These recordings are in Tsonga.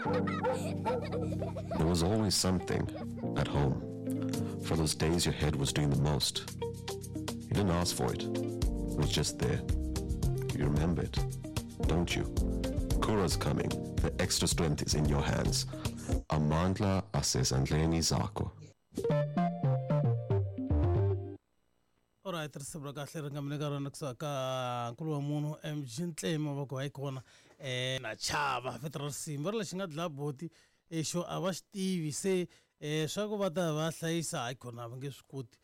There was always something at home. For those days your head was doing the most. You didn't ask for it. It was just there. You remember it, don't you? Kura's coming. The extra strength is in your hands. Amandla asezandleni zakho. Alright, risimu ra kahle ri nga mi nyika rona kusuka ka nkulu wa munhu MG Ntlema va ku hayi kona na chava vito ra risimu va ri lexi nga dlaya boti xo a va xi tivi se swa ku va ta va hlayisa hayi kona a va nge swi koti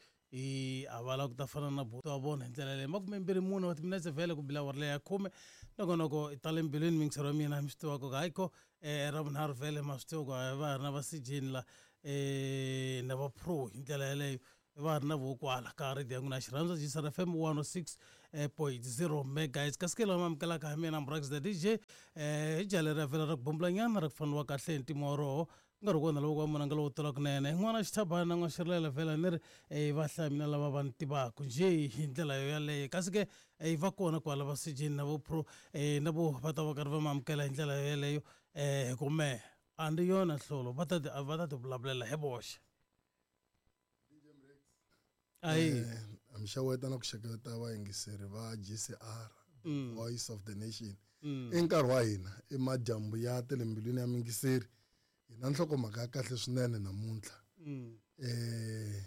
a va lava ku ta fana na buti wa vona hi ndlela yaleyo. 24 wa timinetse vhele ku bila awara leyi ya khume nongonoko i tale mbilwini miyingiseri wa mina mi swi tiva ku hayi ko ravunharhu vhele ma swi tiva ku va ha ri na va sijeni la na va pro hi ndlela yaleyo va ha ri na vo kwala ka radio ya n'wina xirhandza GCR FM 106.0 megahertz kasi ke lama amukelaka hi mina Mbrax the DJ hi jaha leri vhela ra ku bombulanyana ra ku faneriwa kahle hi ntimo wa roho ku nga ri kona loko wa munanga lowo tala kunene n'wana xithabana na n'wana xirilela vhela ni ri va hlaya mina lava va ni tivaka njhe hi ndlela yo yaleyo kasi ke va kona kwala va sijeni na vo pro na vo va ta va karhi va ma amukela hi ndlela yo yaleyo hi ku mehe a ndi yona nhlolo va ta ti va ta ti vulavulela hi voxe ayi Eh, mi xeweta na ku xeketa vayingiseri va GCR the voice of the nation i nkarhi wa hina i madyambu ya tele mbilwini ya mingiseri hi na nhlokomhaka ya kahle swinene namuntlha eh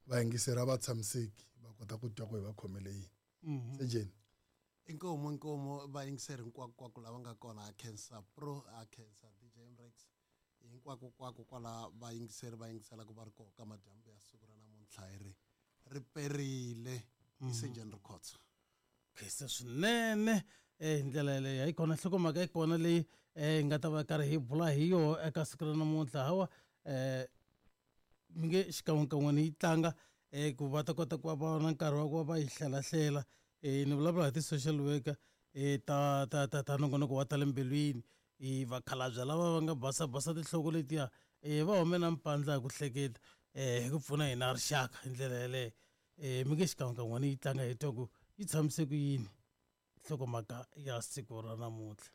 vayingiseri a va tshamiseki va kota ku twa ku hi va khomele yini sejeni Inkomu inkomu vayingiseri hinkwako lava nga kona a khensa pro a khensa DJ Mrex hinkwako kwako kwala vayingiseri va yingiselaka va ri kona ka madyambu ya siku ra namuntlha hi ri ri perile i Surgeon Records. Khensa swinene hi ndlela yaleyo hayi kona nhlokomhaka yi kona leyi hi nga ta va karhi hi bula hi yoho eka siku ra namuntlha hawa mi nge xikan'wekan'we ni yi tlanga ku va ta kota ku va va na nkarhi wa ku va va yi hlalahlela ni vulavula hi ti-social worker ta ta ta ta nongonoko wa ta le mbilwini vakhalabya lava va nga basa basa tinhloko letiya va hume na mpandla hi ku hleketa hi ku pfuna hina rixaka hi ndlela yaleyo mi nge xikan'wekan'we ni yi tlanga hi twa ku yi tshamise ku yini nhlokomhaka ya siku ra namuntlha.